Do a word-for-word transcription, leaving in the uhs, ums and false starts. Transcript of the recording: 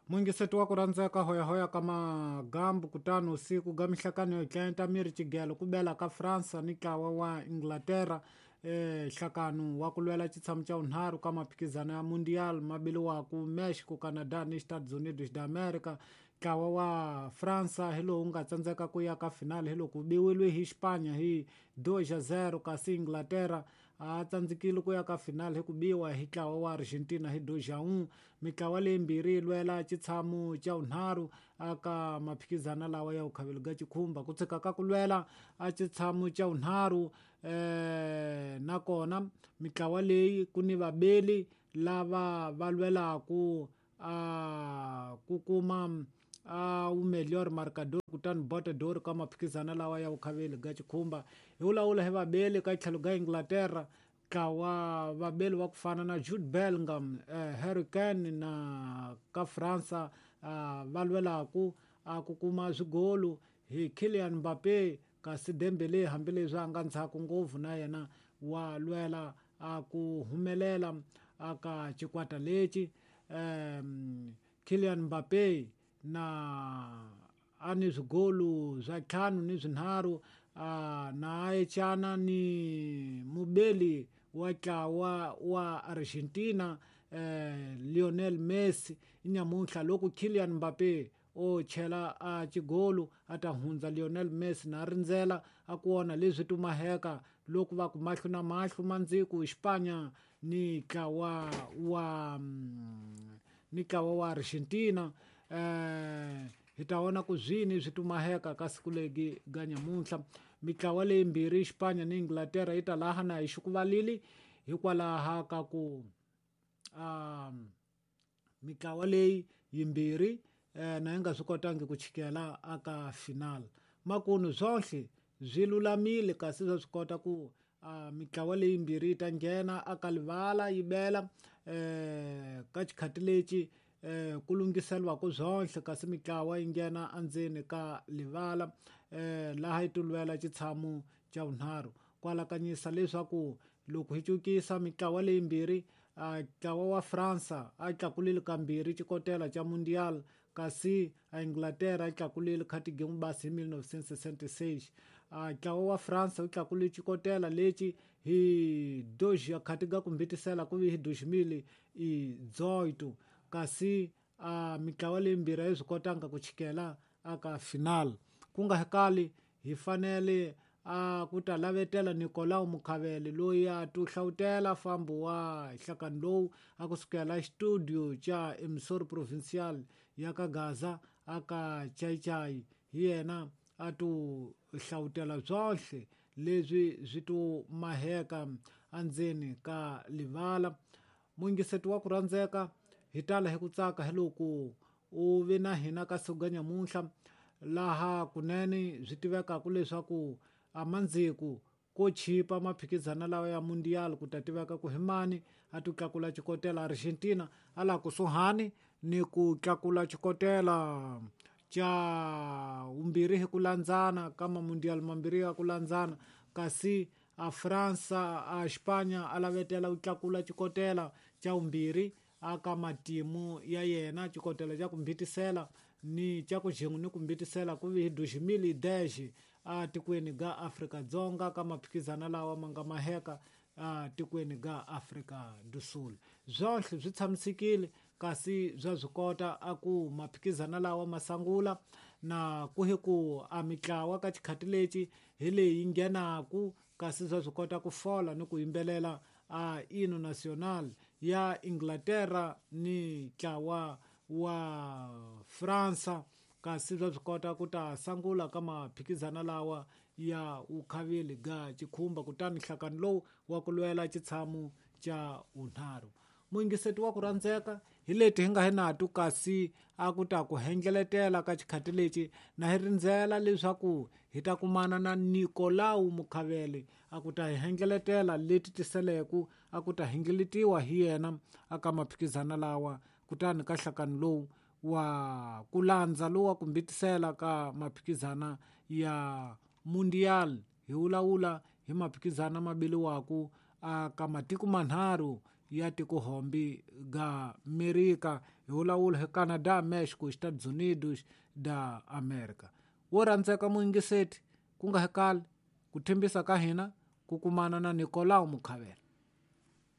Mungiseti wa ku rhandzeka hoyahoya ka magambu kutani usiku ga mihlakano yo tlenta miri xigelo ku bela ka Fransa ni ntlawa wa Inglaterra eh nhlakano wa ku lwela xitshamo xa vunharhu ka maphikizano ya Mundial mabiliwaku Mexico, Canada ni Estados Unidos da America. Ntlawa wa Fransa hi lowu nga tsandzeka ku ya ka final hi loko biwile hi Spanya hi dois a zero, kasi Inglaterra a tsandzekile ku ya ka final hi ku biwa hi ntlawa wa Argentina hi dois a um. Mitlawa leyimbirhi yi lwela xitshamo xa vunharhu aka maphikizano lawa ya vukhavelo ga xikhumba ku tshika ka ku lwela a xitshamo xa vunharhu eh nakona mitlawa leyi ku ni vabeli lava va lwelaku a ku kuma a wu melhor marcador kutani botador ka maphikizano lawa ya vukhaveli ga xikhumba. Hi vulavula hi vabeli ka tlhelo ga Inglaterra ntlawa vabeli va ku fana na Jude Bellingham, eh, Harry Kane na ka Fransa uh, va lwelaku a ku kuma swigolu hi Kylian Mbappe, kasi Dembele hambileswi a nga ndzhaku ngopfu na yena wa lwela a ku humelela aka xikwata lexi. um, Kylian Mbappe na a ni swigolu swa ntlhanu ni swinharhu uh, na a echana ni mubeli wa ntlawa wa Argentina eh, Lionel Messi. Nyamuntlha loko Kylian Mbappe o chela a xigolu a ta hundza Lionel Messi na rindzela a ku vona leswi tumaheka loko va ku mahlo na mahlo mandziku Spanya ni ntlawa wa ni ntlawa wa Argentina. Eh hi ta vona ku zwini swi tumaheka ka siku legi ga nyamuntlha. Mitlawa leyimbirhi Spanya ni Inglaterra yi ta laha na hi xikuvalili hikwalaha ka ku um mitlawa leyi yimbirhi eh, na yi nga swi kotangi ku chikela aka final. Makunu swonhle swi lulamile kasi swa swi kota ku uh, mitlawa leyimbirhi yi ta nghena aka livala yi bela eh, ka xikhati lexi eh, ku lunghiseriwaka swonhle, kasi mitlawa yi nghena endzeni ka livala eh, laha yi tilwela xitshamo xa vunharhu. Ku alakanyisa leswaku loko hi cukisa mitlawa leyimbirhi ntlawa wa Fransa a tlakulile kambirhi xikotela xa Mundial, kasi a Inglaterra a tlakulile khatigemu basi hi mil novecentos e sessenta e seis. Ntlawa wa Fransa wu tlakulile xikotela lexi hi dois khatiga ku mbitisela ku vi hi dois mil e dezoito, kasi a mitlawa leyimbirhi a yi swi kotanga ku chikela aka final. Ku nga kali hi fanele a ku ta lavetela Nicolau Mukhavele loyi a tu hlawutela fambo wa nhlakano lowu a kusukela studio xa Emissor Provincial ya ka Gaza aka Chaichai. Hi yena a tu hlawutela swonhle leswi swi tu maheka endzeni ka livala. Mungiseti wa ku rhandzeka hi tala hi ku tsaka hi loko u ve na hina ka siku ga nyamuntlha laha kunene swi tivekaka leswaku a mandziku ko chipa maphikizano lawa ya Mundial ku ta tiveka ku hi mani a ti tlakula xikotela. Argentina a laha kusuhani ni ku tlakula xikotela xa vumbirhi hi ku landzana ka mamundial mambirhi ya ku landzana, kasi a Fransa a Spanya a lavetela ku tlakula xikotela xa vumbirhi aka matimu ya yena, xikotela xa ku mbitisela ni xa ku xin'we ni ku mbitisela ku vi hi dois mil e dez a tikweni ga Afrika Dzonga ka maphikizano lawa ma nga maheka a tikweni ga Afrika do Sul. Swonhle swi tshamisekile kasi swa swi kota a ku maphikizano lawa ma sangula na ku hi ku a mitlawa ka xikhati lexi hi leyi nghenaku, kasi swa swi kota ku fola ni ku yimbelela a hino national ya Inglaterra ni ntlawa wa Fransa, kasi swa swi kota ku ta sangula ka maphikizano lawa ya vukhaveli ga xikhumba kutani nhlakano lowu wa ku lwela xitshamo xa vunharhu. Muyingiseti wa ku rhandzeka hi leti hi nga hi nato, kasi a ku ta ku hendleletela ka xikhati lexi na hi rindzela leswaku hi ta kumana na Nicolau Mukhavele a ku ta hi hendleletela leti tiseleku a ku ta hindleletiwa hi yena aka maphikizano lawa kutani ka nhlakano lowu wa ku landza lowu wa ku mbitisela ka maphikizana ya Mundial. Hi vulavula hi maphikizana mabiliwaku aka matiko manharhu ya tikohombi ga Amerika hi vulavula hi Canada, Mexico, Estados Unidos da America. Wo rhandzeka muyingiseti ku nga hekali ku thembisa ka hina ku kumana na Nicolau Mukhavela.